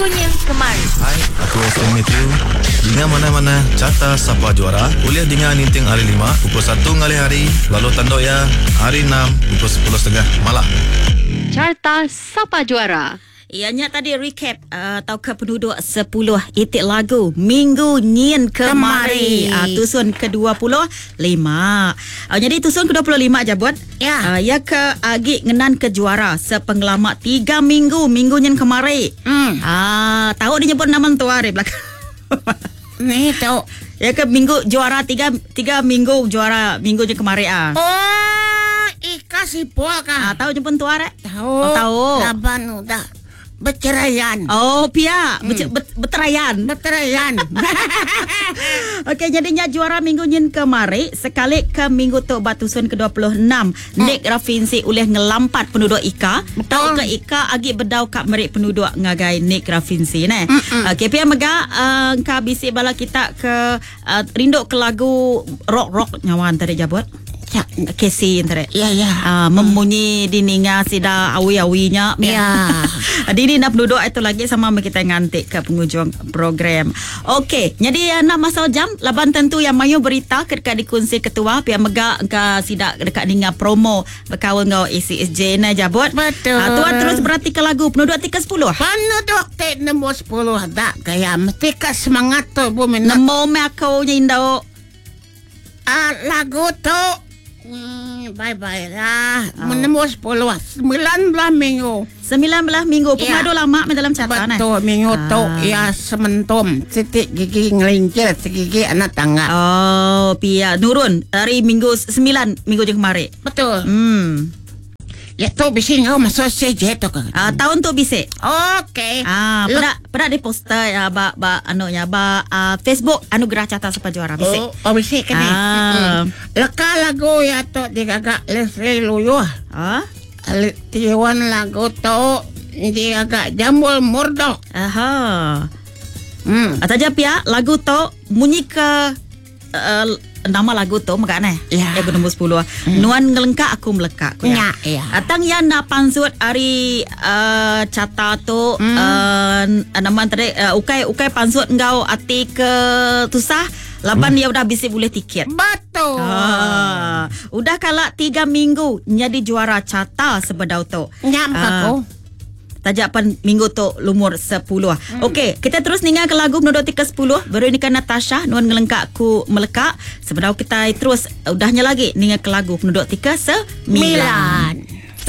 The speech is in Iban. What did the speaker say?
Minggu nyin kemari. Hai, aku Weston Matthew. Dinga manah-manah carta sapa juara ulih dinga ninting hari lima pukul satu ngalih hari lalu tanduk iya hari enam pukul sepuluh setengah malam. Carta Sapa Juara. Iya nya tadi recap uh, tauka penuduk 10 iti lagu minggu nyin kemari. Uh, tusun ke-25. Uh, jadi tusun ke-25 jabut. Ya. Uh, ya ke agi ngenan ke juara sepengelama 3 minggu minggu nyin kemari. Ah, tahu dia nyebut nama entua ari belakang. Ni tu. Ya ke minggu juara tiga tiga minggu juara minggu nyin kemari ah. Oh, Ika sipol Ah, kah? tahu jemput entua rek? Tahu. Oh, tahu. Laban udah berceraian. Oh, pia, hmm. beterayan. Berceraian. Okey, jadinya juara minggu nyin kemari sekali ke minggu tu batusun ke-26. Nick Rafinsi ulih ngelampat penduduk Ika. Betul. Tau ke Ika agi bedau kak merik penduduk ngagai Nick Rafinsi ne. Okey, pia mega uh, ka bisi bala kita ke uh, rindu ke lagu rock-rock nyawan tadi jabut. Ya, Casey tadi. ya. ya. Ah, memunyi dininga sida awi-awinya. Ya. Dini nak penduduk itu lagi sama kita ngantik ke penghujung program. Okey, jadi eh, nak masuk jam laban tentu yang mayu berita kedekat dikunsi ketua pihak mega ke sidak dekat ninga promo berkawan ngau ACSJ na jabut. Betul. Ah, tuan terus berhati ke lagu penduduk 310. Penduduk te nombor 10 tak gaya mesti ka semangat tu bu minat. Nemo me aku nya indau. Ah, lagu tu bye bye lah. Oh. Nombor 10 19 minggu. 19 minggu Ya. pengadu lama me dalam catatan eh. Betul minggu tu Ah. ya sementum titik gigi ngelincir gigi anak tangga. Oh, pia nurun dari minggu 9 minggu je kemarin. Betul. Ya tu bisi ngau masuk CJ tu ke. Ah, tahun tu bisik. Okey. Ah, Lek- pedak pedak di poster ya ba ba anu nya ba ah, Facebook Anugerah Carta Sapa Juara bisik. Oh, oh bisik ke ni? Ah. Mm-mm. Leka lagu ya tu digagak Leslie Luyuh. Ah. Tiwan lagu tu digagak Jambul Murdok. Aha. Hmm. Atau je pia lagu tu munyi ke uh, nama lagu tu megak neh. Ya. Lagu nombor 10. Nuan ngelengkak aku melekak ku Ya, ya. Atang yang nak pansut hari uh, carta tu uh, nama tadi uh, ukai ukai pansut ngau ati ke tusah laban dia udah bisik boleh tiket. Betul. Ah, udah kalak tiga minggu jadi juara carta sebedau tu. Nyam Ah, aku. Tajak pan minggu tu lumur 10. Okey, kita terus ningal ke lagu menurut ke 10. Veronica Natasha nuan ngelengkak ku melekak. Sebedau kita terus udahnya lagi ningal ke lagu menurut 3 9. Milan. 10.